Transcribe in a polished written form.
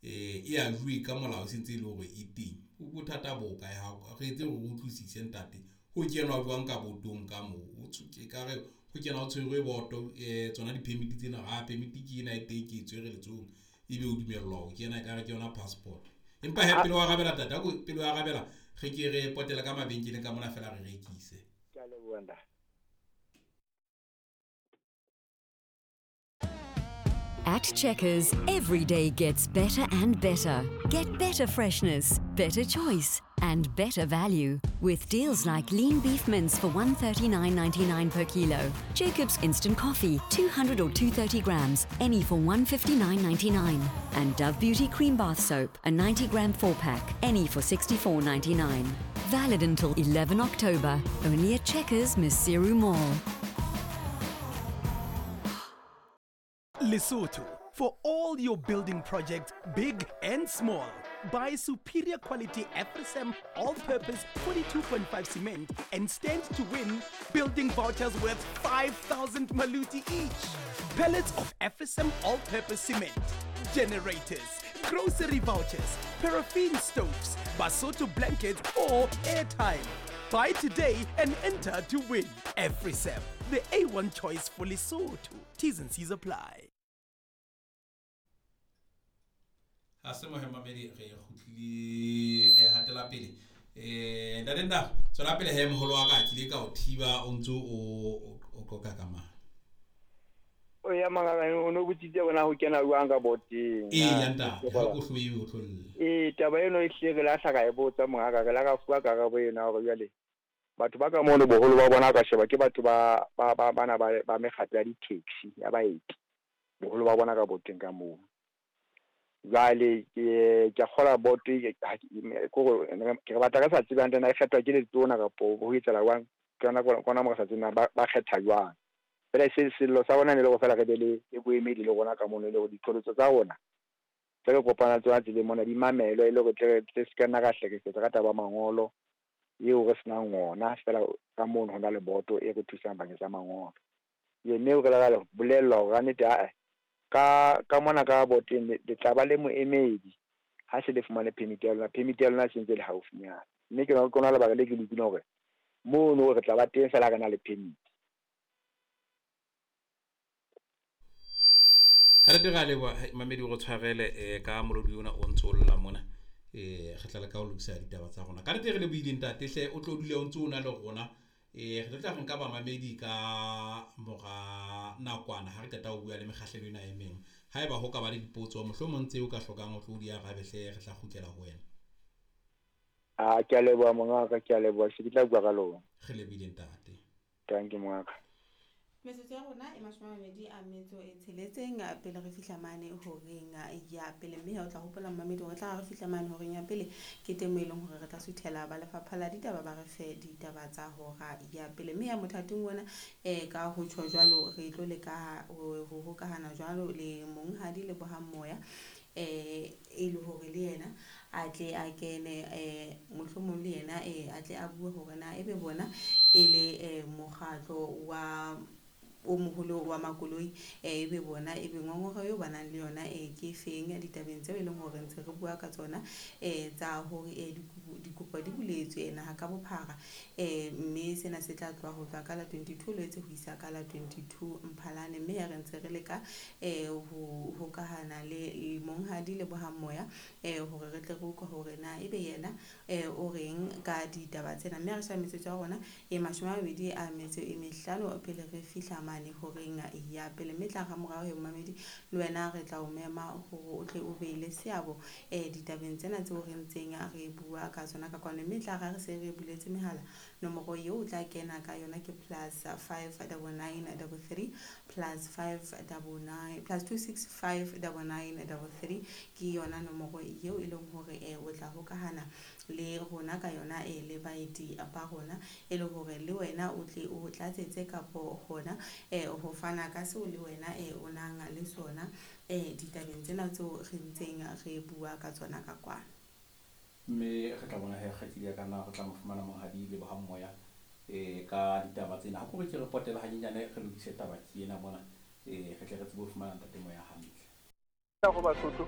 E ajuwe ka molao, e sentse e le hore e teng. Bothata bo kae? Ha re etse hore re utlwisise ntate. Ho kenwa jwang ka botong ka moo? Ekare ho kena ho tshwerwe boto tsona di-permit tsena. Ha permit ke ena e teng, ke e tshwere letsohong, ebe o dumellwa ho kena ekare ke yona passport. Empa hee pele o arabela ntate, ako pele o arabela re ke re potele ka mabenkeleng ka mona feela re rekise. Ke a leboha ntate. At Checkers, every day gets better and better. Get better freshness, better choice, and better value. With deals like lean beef mince for 139.99 per kilo, Jacob's instant coffee, 200 or 230 grams, any for 159.99, and Dove Beauty cream bath soap, a 90 gram 4-pack, any for 64.99. Valid until 11 October, only at Checkers Maseru Mall. Lesotho, for all your building projects, big and small. Buy superior quality AfriCem all-purpose 42.5 cement and stand to win building vouchers worth 5,000 maluti each. Pallets of AfriCem all-purpose cement, generators, grocery vouchers, paraffin stoves, Basotho blankets or airtime. Buy today and enter to win. AfriCem, the A1 choice for Lesotho. T's and C's apply. Ha se mohemamedi re kgutlile, re hatela pele. Ntate Ndaba, tswela pele he moholo wa ka, ke ile ka o thiba o ntso o qoqa ka mang. O ya mangaka o no botsitse bona ho kena jwang ka boteng. Ee ya ntate, ha ko hloe o tlolle. Ee, taba eno e hlile re lahla ka e botsa mongaka, re la ka fuwa karabo ena hore jwale batho ba ka mono boholo ba bona ka sheba ke batho ba ba ba bana ba mekgatlo ya di-taxi ya baeti. Boholo ba bona ka boteng ka moo. Jwale ke ke kgola boto ke re batla re sa tsebe hantle na e kgethwa ke letona kapo ho etsahala jwang. Ke yona kona mo re sa tsebeng ba kgetha jwang. Fela sello sa bona ne le hore fela re be le boemedi le rona ka mono, e le hore diqholotso tsa rona tse re kopana le tsona tseleng mona di mamelwe, e le hore tle re se ka nna ra hlekefetsa ka taba ya mangolo eo re senang ona. Fela ka mono ho na le boto e re thusang bakeng sa mangolo. Mme re la ra bolellwa hore kannete ae ka mona ka boteng le tla ba le moemedi ha se le fumane permit ya lona. Permit ya lona e sentse le haufinyana. Mme ke lona lebaka le ke le utlwileng hore mono re tla ba teng fela re na le permit. Ka nnete re a leboha mamedi o re tshwarele ka molodi ona o ntso o lla mona. Re tla leka ho lokisa ditaba tsa rona. Ka nnete re lebohile ntate hle, o tlo dule o ntso o na le rona. Re tlo tla re nka bamamedi ka mora nakwana ha re qeta ho bua le mekgahlelo ena e meng. Haeba ho ka ba le dipotso mohlomong tseo ka hlokang o tlo di arabe hle, re tla kgutlela ho wena. Ah, ke a leboha mongaka, ke a leboha. Se ke tla bua ka lona. Re lebohile ntate. Thank you mongaka. Metsotso ya rona e 26 pele re fihla mane horeng ya pele, mme ha o tla hopola mmamedi hore tla re fihla mane horeng ya pele ke teng moo e leng hore re tla suthela ba lefapha la ditaba ba re fe ditaba tsa hora ya pele. Mme ya mothating ona ka ho tjho jwalo re tlo leka ho hokahana jwalo le monghadi Lebohang Moya e le hore le yena a tle a kene mohlomong le yena a tle a bue hore na ebe bona e le mokgatlo wa o moholo wa makoloi ebe bona ebe ngongora eo ba nang le yona ke feng ditabeng tseo e leng hore ntse re bua ka tsona tsa hore dikopo di buletswe naha ka bophara mme sena se tla tloha ho tloha ka la 22 Loetse ho isa ka la 22 Mphalane. Mme ya re ntse re leka ho hokahana le monghadi Lebohang Moya hore re tle re utlwe hore na ebe yena o reng ka ditaba tsena. Mme re sheba metsotso ya rona e 25 pele re fihla mane horeng ya pele. Mme tla ramorao he momamedi le wena re tla o mema hore o tle o be le seabo ditabeng tsena tseo re ntseng re bua ka tsona ka kwano. Mme tla ra re se re buletse mehala, nomoro eo o tla kena ka yona ke +59933 +599 +2659933 ke yona nomoro eo e leng hore o tla hokahana le rona ka yona le baeti ba rona e le hore le wena o tle o tlatsetse kapo hona ho fana ka seo le wena o nang le sona ditabeng tsena tseo re ntseng re bua ka tsona ka kwano. Mme re tla bona he kgaitsedi ya ka na re tla mo fumana monghadi Lebohang Moya ka ditaba tsena. Ha ke re ke re potela hanyenyane re lokise taba ke ena mona re tle re tsebe ho fumana ntate Moya hantle. Go Basotho.